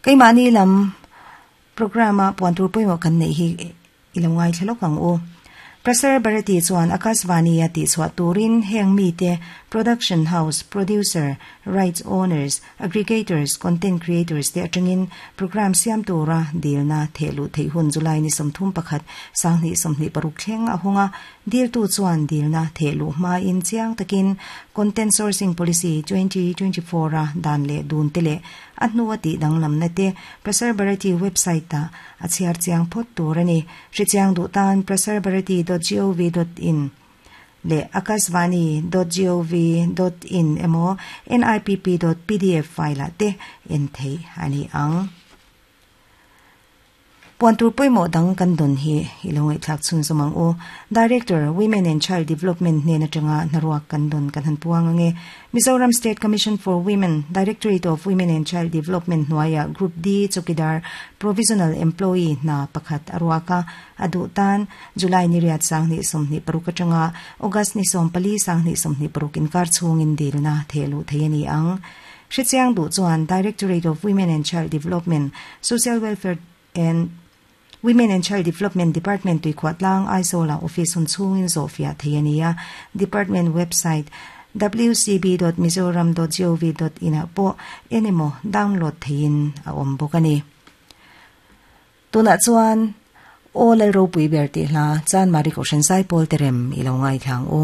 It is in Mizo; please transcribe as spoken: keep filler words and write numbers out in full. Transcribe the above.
Keimahni lam programme a puan tur pawimawh kan neih hi i lo ngaithla lawk ang u. Prasar Bharati chuan Akashvani a tihchhuah turin heng mite production house, producer, rights owners, aggregators, content creators te atangin programme siam tura dilna thehluh theih hun July ni sawmthum pakhat sanghnih sawmhnih paruk thleng a hung a, diltu chuan dilna thehluh hmain chiang takin Content Sourcing Policy twenty twenty four a dan leh dun te leh a hnua tih danglamna te Prasar Bharati website ah a chhiar chiang phawt tur a ni. Hrichiang duh tan prasarbharati dot gov dot in leh akashvani dot gov dot in emaw nipp dot pdf file ah te en theih a ni ang. Puan tur pawimawh dang kan dawn hi i lo ngaihthlak chhun zawm ang u. Director, Women and Child Development hnen atanga hnaruak kan dawn kan han puang ange. Mizoram State Commission for Women, Directorate of Women and Child Development hnuaia Group D Chowkidar Provisional Employee hna pakhat a ruak a, a duh tan July ni riat sanghnih sawmhnih paruk atanga August ni sawm pali sanghnih sawmhnih paruk inkar chhungin dilna thehluh thei a ni ang. Hrichiang duh chuan Directorate of Women and Child Development, Social Welfare and Women and Child Development Department tuikhuah tlang Aizawl ah office hun chhungin zawhfiah thei a ni a, department website wcb dot mizoram dot gov dot in ah pawh en emaw download theiin a awm bawk a ni. Tunah chuan Aw Lalropui ber tih hla Chanmari Kohhran Zaipawl te rem i lo ngaithla ang u.